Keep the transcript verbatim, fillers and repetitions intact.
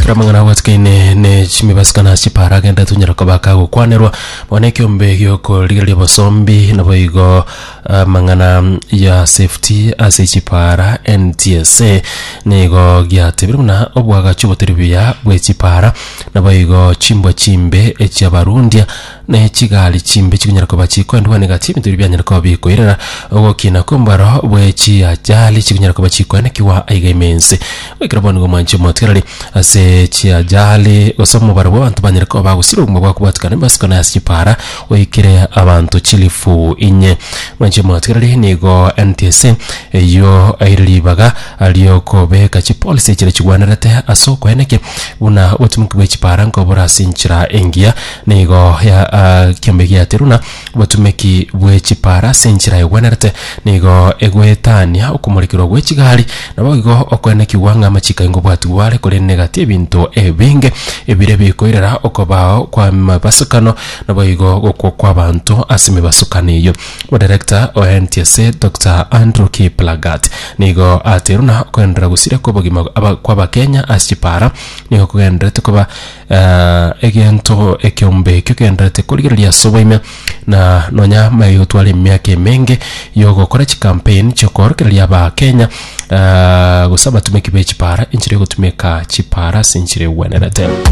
Amang'ana abwatikaine ne chimibasikana chipara agenda tunyara koba kagokwanerwa bono ekiombe giokorigereria obosombi nabo igo amang'ana ya safety ase chipara N T S A nigo giatebire buna obwagachi obotari buya bwe chipara nabo igo chimbwa chimbe echiabarundia na chigari chimbe chikonyara koba chikoendwa negati ebinto ebi bianyara koba bikoirera ogokina kw'ombaro bwe chiajali chikonyara koba chikoenekiwa aiga ime ense goikera bono nigo mwanchi omotigareri ase chiajali gose omobaro bwa abanto banyare koba bagosira obogima bwakobwatikana embasikano ase chipara oikire abanto chilifu inye. Mwanchi omotigareri, nigo N T S A eyo aire ribaga riokobeka chipolicy chire chigwanerete ase okoenekia buna obotumiki bwa chipara nkobora ase enchera engiya. Nigo ya uh, kiombe giateruna obotumiki bwe chipara ase enchera egwenerete nigo egwetania okomorekerwa gwe chigari nabo igo okoenekiwa ng'a amachiko aingo bwatibware korende negati ebinto ebinge ebire bikoirera okobao kwa mabasukano nabo igo gokwa kwa abanto ase emebasukano eyo. Director o N T S A Doctor Andrew Kiplagat nigo ateruna okoenderera gosira kwa obogima aba- kwa abakenya ase chipara nigo kogenderete koba uh, egento ekiombe ekio kegenderete korigereria ase oboime na nonya mayotwara emiaka emenge yogokora chicampaign chiokorokereria abakenya uh, gose abatumiki be chipara enchera egotumeka chipara ase enchera egwenerete.